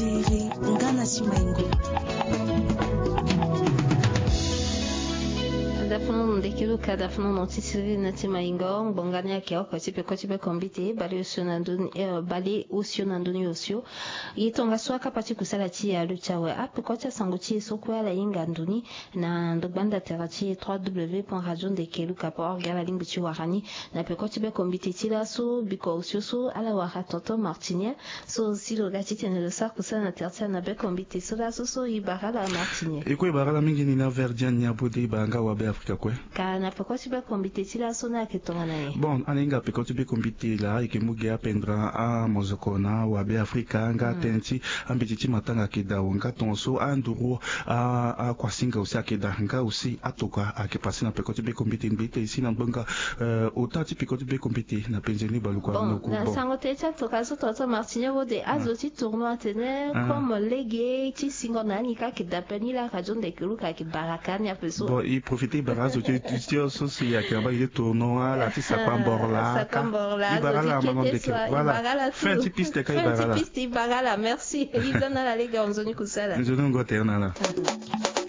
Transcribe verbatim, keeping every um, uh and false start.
Tere nga na ti maingo. Dafunu ndeke luka dafunu na ti siriri na ti maingo ngbonga ni ayeke oko ti peko ti bekombite baleosio na ndoni. Baleosio na ndoni osio. Ye tongaso akapa ti kusala ti e aluti awe apeko ti asango ti e so kue ala hinga ndoni na ndogba nda tere ti e trois w point radio ndeke luka point org ala lingbi ti wara ni. Na peko ti bekombite ti laso biko osio so ala wara tonton martinien so si lo ga ti tene lo sara kusala na tere ti ala na bekombite so laso so e bara ala martinien. E kue e bara ala mingi ni na verdian ni abode e bara nga wabe afrika kue. Ka na peko ti bekombite ti laso ni ayeke tongana nyen? Bon, ala hinga peko ti bekombite laa e yeke mu ge apendra amozoko na wabe afrika nga tënë ti ambeti ti matanga ayeke daa nga tongaso anduru akuasinga aussi ayeke daa nga aussi atoka ayeke pase na peko ti bekombite ngbe ite si na ngbonga ota ti peko ti bekombite na penze ni baluku. Bon, na sango tënë ti atoka so tonton martinien wode azo ti tournoi atene comme lege ti singo na ani ka ayeke daa pe ni laa radio ndeke luka ayeke bara ka ni ape so. Bon, e profite e bara azo ti ti so si ayeke na mbage ti tournoi ala ti sapa mboro laa ka. E bara ala amango ndeke. Voilà, fin ti piste ka e bara ala. Merci. E za na ala lege ahon nzoni kusala. Nzoni ngo tere na ala.